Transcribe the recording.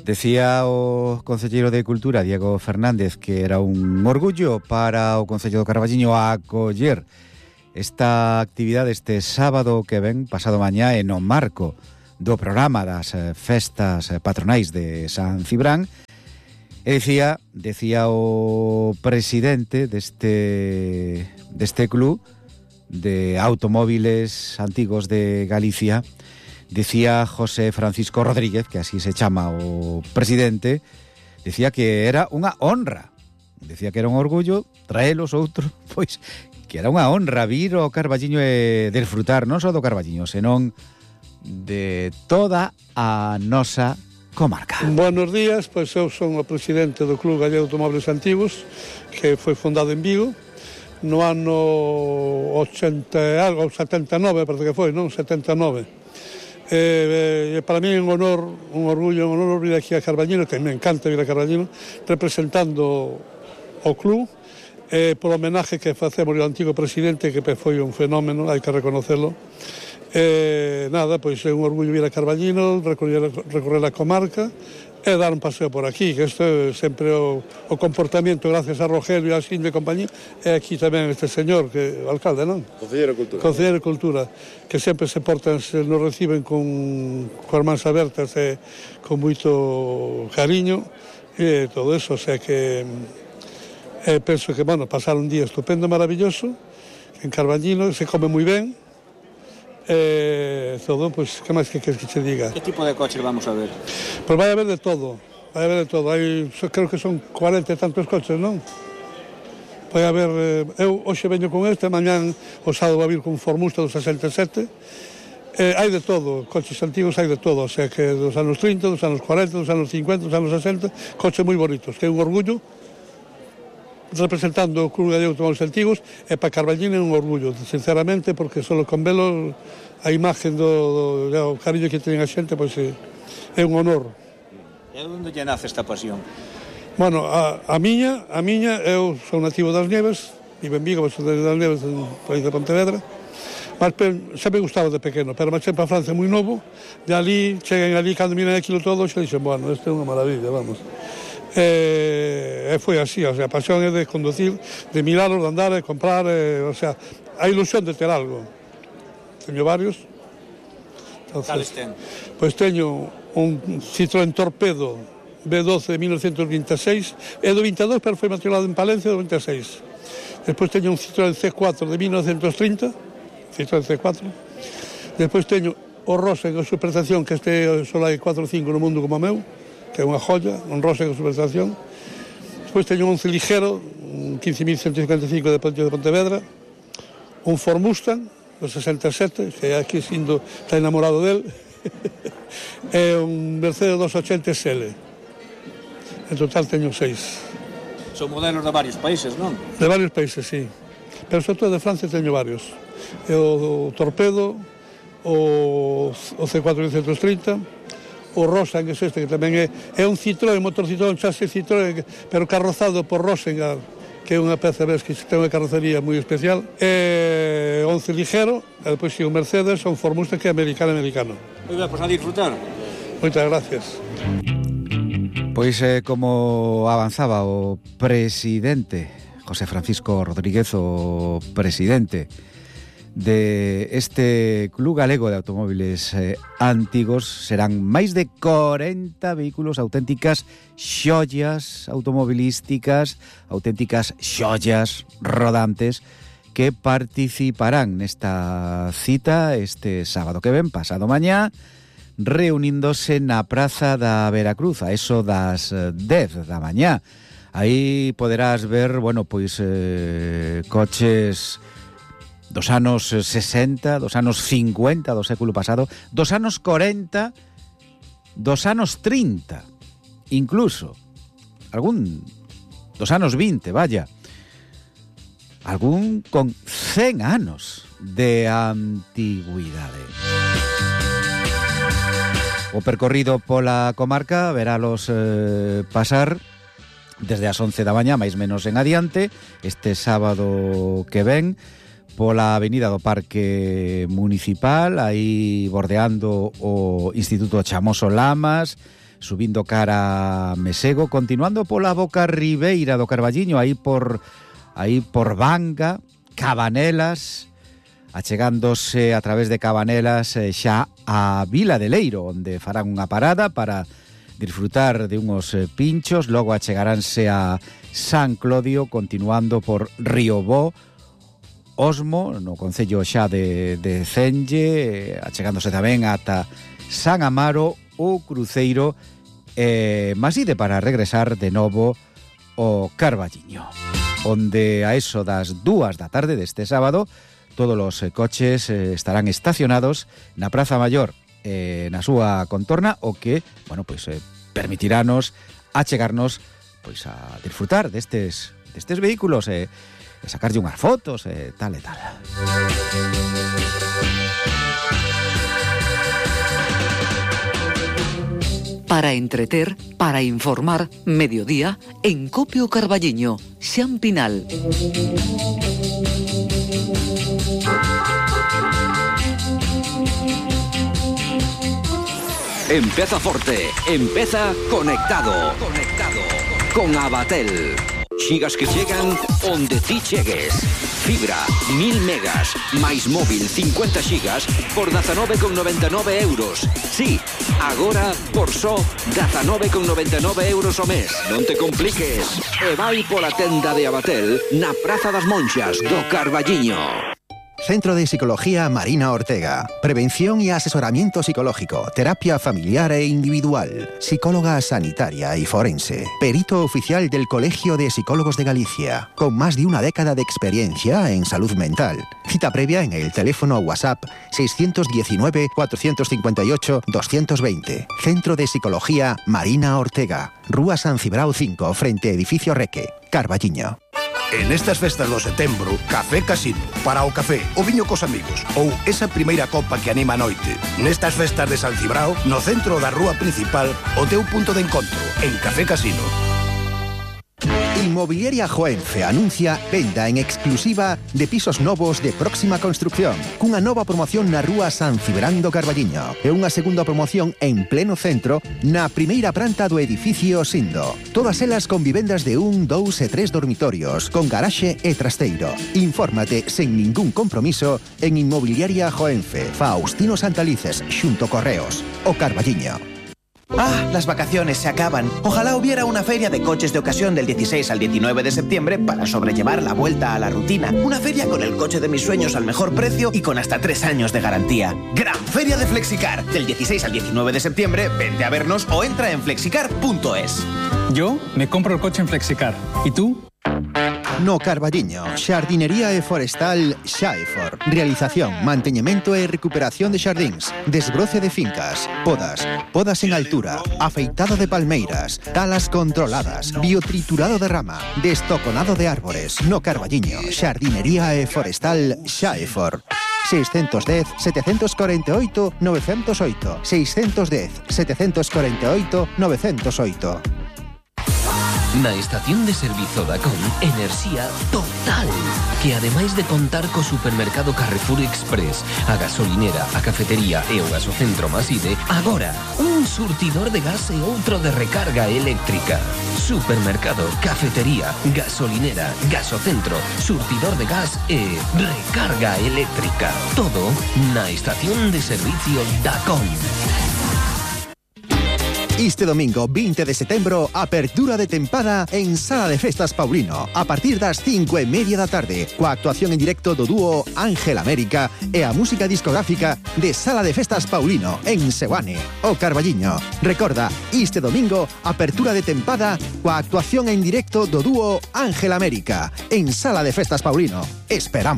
Decía o concelleiro de Cultura, Diego Fernández, que era un orgullo para o Concello do Carballiño acoller esta actividade este sábado que ven, pasado mañá, e no marco do programa das festas patronais de San Cibrán. E decía o presidente deste club de automóviles antigos de Galicia, decía José Francisco Rodríguez, que así se chama o presidente, decía que era unha honra, decía que era un orgullo traelos outro, pois que era unha honra vir ao Carballiño e desfrutar non só do Carballiño, senón de toda a nosa comarca. Buenos días, pois eu son o presidente do Club Gallego de Automóviles Antigos, que foi fundado en Vigo no ano 79, parece que foi, non? 79. Para mí é un honor, un orgullo, un honor vir aquí a Carballiño, que me encanta vir a Carballiño, representando o club, por homenaje que facemos ao antigo presidente, que foi un fenómeno, hai que reconocerlo. Nada, pois é un orgullo vir a Carballiño, recorrer a comarca e dar un paseo por aquí, que isto é sempre o comportamento, gracias a Rogelio e a Xinde e compañía, e aquí tamén este señor, que o alcalde, non? Concelleiro de Cultura. Concelleiro de Cultura, que sempre se portan, nos reciben con as mans abertas e con moito cariño, e todo eso, o sea que penso que, bueno, pasar un día estupendo, maravilloso, en Carballiño, se come moi ben, todo, pois, que máis que queres que te diga? Que tipo de coches vamos a ver? Pois vai haber de todo, hai, creo que son 40 e tantos coches, non? Vai haber, eu hoxe veño con este, mañán o sábado vai vir con un Formusta do 67, hai de todo, coches antigos hai de todo, o sea que dos anos 30, dos anos 40, dos anos 50, dos anos 60, coches moi bonitos, que é un orgullo, representando o Club Gallego de Automóviles Antigos, e para Carballiño é un orgullo, sinceramente, porque solo con velo a imagen do cariño que teñen a xente, pois é un honor. E onde lle nace esta pasión? Bueno, a miña, eu sou nativo das Nieves, vivo en Vigo, sou das Nieves, en país de Pontevedra, mas sempre gustaba de pequeno, pero marchei para Francia moi novo, de ali, cheguen ali, cando miren aquilo todo, xa dixen, bueno, isto é unha maravilla, vamos. E foi así, o sea, a pasión é de conducir, de mirarlos, de andar, de comprar, o sea, a ilusión de ter algo. Teño varios. Cales ten? Pois teño un Citroën Torpedo B12 de 1926, é do 22, pero foi matriculado en Palencia do 26. Despois teño un Citroën C4 de 1930, Citroën C4. Despois teño o Rosen en superestación, que este só hai 4 ou 5 no mundo como o meu, que é unha joya, un Rosen en superestación. Despois teño un 11 ligero, un 15.155 de Pontevedra, un Ford Mustang do 67, que aquí sindo está enamorado del, e un Mercedes 280 SL. En total teño 6. Son modelos de varios países, non? De varios países, sí. Pero sobre todo de Francia teño varios. O Torpedo, o C430, o Rosen, que é este, que tamén é un Citroën, motor Citroën, chasis Citroën, pero carrozado por Rosen, que é unha peza, ves, que ten unha carrocería moi especial, e 11 ligero, e depois un Mercedes, un Ford Mustang, que é americano. Moi ben, pois a disfrutar. Moitas gracias. Pois como avanzaba o presidente José Francisco Rodríguez, o presidente de este Club Galego de Automóviles Antigos, serán máis de 40 vehículos, auténticas xollas automobilísticas, auténticas xollas rodantes, que participarán nesta cita este sábado que ven, pasado mañá, reuníndose na Praza da Veracruz, a eso das 10 da mañá. Aí poderás ver, bueno, pois coches dos anos 60, dos anos 50 do século pasado, dos anos 40, dos anos 30, incluso algún dos anos 20, vaya, algún con 100 anos de antigüidade. O percorrido pola comarca verálos pasar desde as 11 da mañá, máis menos en adiante, este sábado que ven, pola avenida do Parque Municipal, aí bordeando o Instituto Chamoso Lamas, subindo cara a Mesego, continuando pola boca ribeira do Carballiño, aí por Banga, Cabanelas, achegándose a través de Cabanelas xa a Vila de Leiro, onde farán unha parada para disfrutar de unhos pinchos, logo achegaránse a San Clodio, continuando por Riobó, Osmo, no concello xa de Cenge, achegándose tamén ata San Amaro, o cruceiro, Maside para regresar de novo ao Carballiño, onde a eso das 2 da tarde deste sábado todos os coches estarán estacionados na Praza Maior, na súa contorna, o que, permitirános achegarnos a disfrutar destes vehículos e sacarlle unhas fotos tal e tal. Para entreter, para informar, mediodía, en Copio Carballiño, Xan Pinal. Empeza forte, empeza conectado. Con Abatel. Xigas que chegan onde ti chegues. Fibra, 1000 megas, máis móvil 50 xigas por 19,99 euros. Sí, agora por só 19,99 euros ao mes. Non te compliques. E vai pola tenda de Abatel na Praza das Monxas do Carballiño. Centro de Psicología Marina Ortega. Prevención y asesoramiento psicológico, terapia familiar e individual, psicóloga sanitaria y forense, perito oficial del Colegio de Psicólogos de Galicia, con más de una década de experiencia en salud mental. Cita previa en el teléfono WhatsApp 619-458-220. Centro de Psicología Marina Ortega. Rúa San Cibrao 5, frente a Edificio Reque, Carballiño. En estas festas do setembro, Café Casino. Para o café, o viño cos amigos ou esa primeira copa que anima a noite. Nestas festas de San Cibrao, no centro da rúa principal, o teu punto de encontro, en Café Casino. Inmobiliaria Joenfe anuncia venda en exclusiva de pisos novos de próxima construcción, cunha nova promoción na rúa San Cibrán do Carballiño e unha segunda promoción en pleno centro na primeira planta do edificio Sindo. Todas elas con vivendas de 1, 2 e 3 dormitorios, con garaxe e trasteiro. Infórmate sen ningún compromiso en Inmobiliaria Joenfe, Faustino Santalices, xunto Correos, o Carballiño. ¡Ah! Las vacaciones se acaban. Ojalá hubiera una feria de coches de ocasión del 16 al 19 de septiembre para sobrellevar la vuelta a la rutina. Una feria con el coche de mis sueños al mejor precio y con hasta 3 años de garantía. ¡Gran Feria de Flexicar! Del 16 al 19 de septiembre, vente a vernos o entra en flexicar.es. Yo me compro el coche en Flexicar. ¿Y tú? No Carballiño, Xardinería e Forestal Xaefor. Realización, manteñemento e recuperación de xardíns, desbroce de fincas, podas en altura, afeitado de palmeiras, talas controladas, biotriturado de rama, destoconado de árbores. No Carballiño, Xardinería e Forestal Xaefor. 610-748-908. 610-748-908. Na estación de servizo Dacon, enerxía total, que ademais de contar co supermercado Carrefour Express, a gasolinera, a cafetería e o gasocentro Maside, agora un surtidor de gas e outro de recarga eléctrica. Supermercado, cafetería, gasolinera, gasocentro, surtidor de gas e recarga eléctrica. Todo na estación de servicio Dacon. Este domingo 20 de setembro, apertura de tempada en Sala de Festas Paulino, a partir das 5:30 da tarde, coa actuación en directo do dúo Ángel América e a música discográfica de Sala de Festas Paulino en Seoane, o Carballiño. Recorda, este domingo, apertura de tempada coa actuación en directo do dúo Ángel América en Sala de Festas Paulino. Esperamos.